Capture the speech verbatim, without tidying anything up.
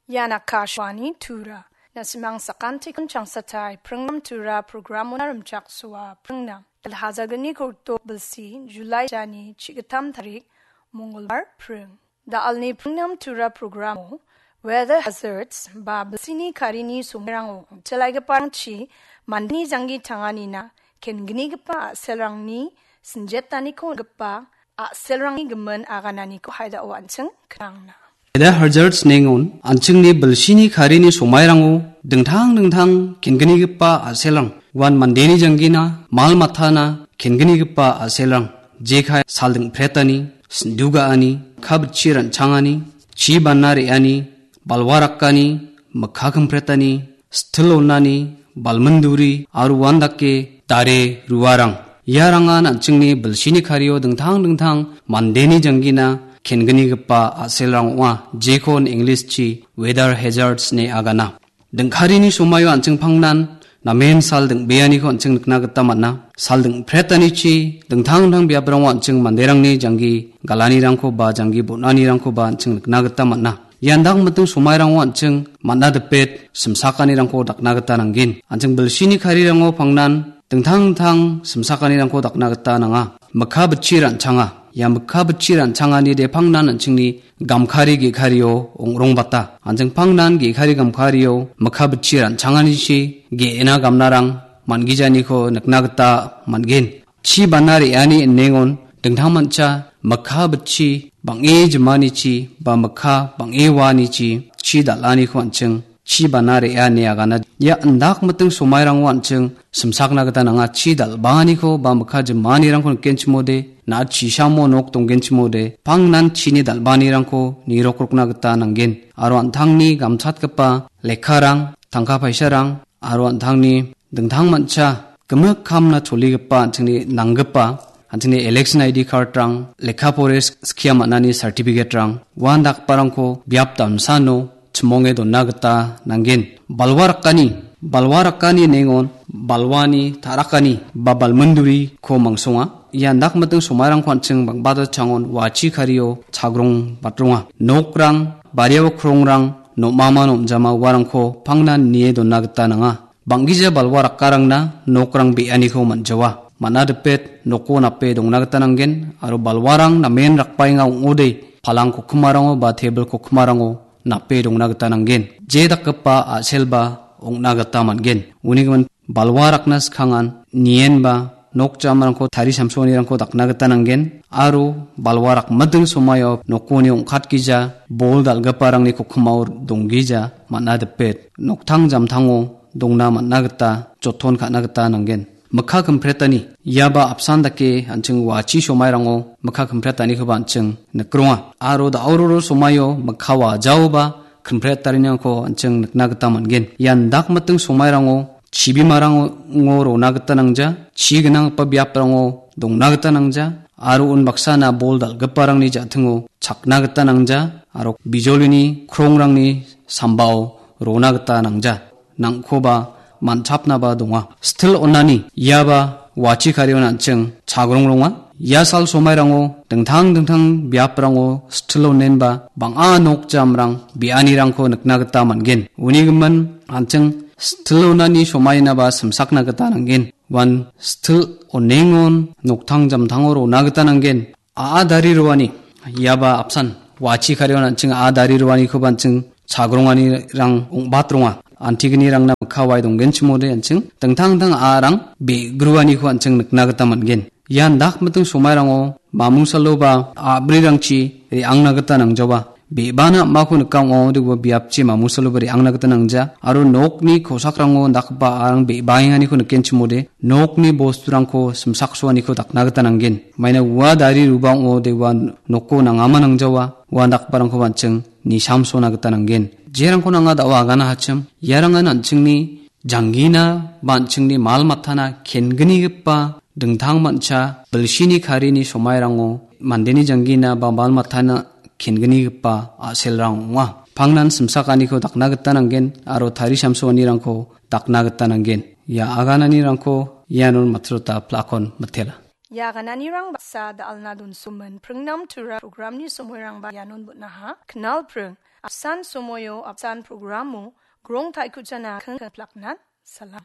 Ian Akashvani Tura. Na·simang sakantikon changsatai pringnam Tura programona rimchaksoa pringnam. Alhazagni korto bilsi Julai jani chigitam tarik Mongolbar pring. Da·alni pringnam Tura programo weather hazards ba bilsini karini somairango ong·telaigiparangchi mandeni janggi tanganina kenginigipa a·selrangni sinjetaniko on·gipa a·selrangni gimin agananiko haidao an·ching knangna. Weather hazards nengon an·chingni bilsini karini somairango dingtang dingtang kenginigipa a·selrang, uan mandeni janggina, mal matana kenginigipa a·selrang, jekai salding·pretani, sindu ga·ani, kabitchi ran·changani, chi bana re·ani, balwa rakani, mikka kimpretani, stil onani, balminduri, aro uandake dare ruarang. Iarangan an·chingni bilsini kario dingtang dingtang mandeni janggina kenginigipa a·selrang ong·a, jekon English-chi weather hazards ine agana. Dingkarini somaio an·ching pangnan namen sal ding·beaniko an·ching nikna gita man·a. Sal ding·pretanichi dingtang dingtang biaprango an·ching manderangni janggi galanirangko ba janggi bon·anirangkoba an·ching nikna gita man·a. Ian dak miting somairango an·ching man·a dipet simsakanirangko dakna gita nanggen. An·ching bilsini karirango pangnan dingtang dingtang simsakanirangko dakna gita nanga. Mikka bitchi ran·changa. Ia mikka bitchi ran·changani depangnan an·chingni gamkari ge·kario ong·rongbata. An·ching pangnan ge·kari gamkario mikka bitchi ran·changanichi ge·ena gamnarang man·gijaniko nikna gita man·gen. Chi bana re·ani inengon dingtangmancha mikka bitchi bang·e jimanichi ba mikka bang·e waanichi chi dal·aniko an·ching chi bana re·a ine agana. Ia indak miting somairango an·ching simsakna gita nanga. Chi dal·baaniko ba mikka jimanirangko nikenchimode, na·a chisamo nok donggenchimode, pangnan chini dal·baanirangko nirokrokna gita nanggen. Aro an·tangni gamchatgipa lekkarang, tangka paisarang, aro an·tangni dingtangmancha gimik kamna choligipa an·chingni nanggipa, an·chingni election I D card-rang, lekka pore sk-, skia man·ani certificate-rang, uandakgiparangko biap damsano chimonge dona gita nanggen. Balwa rakani, balwa rakani nengon balwani ta·rakani ba balminduriko mangsonga. Ia indak miting somairangko an·ching bang·bata changon wachi kario chagrong batronga. Nokrang, bariao krongrang, nom·ama nom·jama uarangko pangnan nie dona gita nanga. Bang·gija balwa rakkarangna nokrang be·aniko man·jawa. Man·a dipet noko nape dongna gita nanggen, aro balwarang namen rakbaenga ong·ode, palang kokkimarango ba tebil kokkimarango nape dongna gita nanggen. Je dakgipa a·selba ong·na gita man·gen. Uni gimin balwa rakna skangan nienba nok jamarangko tari samsoanirangko dakna gita nanggen, aro balwa rakmiting somaio nokoni ong·katgija bol dal·giparangni kokkimao donggija man·a dipet noktang jamtango dongna man·a gita joton ka·na gita nanggen. Mikka kimpretani, iaba apsan dake an·ching wachi somairango mikka kimprettanikoba an·ching nikronga. Aro da·o roro somaio mikka wajaoba kimpretariniko an·ching nikna gita man·gen. Ian dak miting somairango chibimarango rona gita nangja, chi gnanggipa biaprango dongna gita nangja, aro unbaksana bol dal·giparangni ja·tingo chakna gita nangja, aro bijolini krongrangni sambao rona gita nangja. Nangkoba man·chapnaba donga. Stil onani iaba wachi karion an·ching chagrongronga. Ia sal somairango dingtang dingtang biaprango stil onenba bang·a nok jamrang be·anirangko nikna gita man·gen. Uni gimin an·ching stil onani somainaba simsakna gita nanggen. Uan stil onengon noktang jamtango rona gita nanggen. A·a dari roani, iaba apsan, wachi karion an·ching a·a dari roanikoba an·ching chagronganirang ong·batronga. Antignirangna mikka wae donggenchimode an·ching dingtang dingtang a·arang be·gruaniko an·ching nikna gita man·gen. Ian dak miting somairango mamungsaloba a·brirangchi re·angna gita nangjawa. Be·bana am·ako nika ong·a, ong·ode ua biapchi mamungsaloba re·angna gita nangja. Aro nokni kosakrango dakgipa a·arang be·baenganiko nikenchimode, nokni bosturangko simsaksoaniko dakna gita nanggen. Maina ua dari ruba ong·ode ua noko nangama nangjawa, ua dakgiparangkoba an·ching nisamsona gita nanggen. Jerangko nanga da·o agana hachim, iarangan an·chingni janggina ba an·chingni mal matana kenginigipa dingtang mancha bilsini karini somairango mandeni janggina ba mal matana kenginigipa a·selrang ong·a. Pangnan simsakaniko dakna gita nanggen aro tari samsoanirangko dakna gita nanggen. Ia agananirangko ianon matrota plakon mitela. Ia agananirang baksa da·alna donsomin pringnam tura programni somoirangba ianon bon·aha. Knal pring. apsan somoio apsan programo grong taikuchana kengkeng plaknan salam.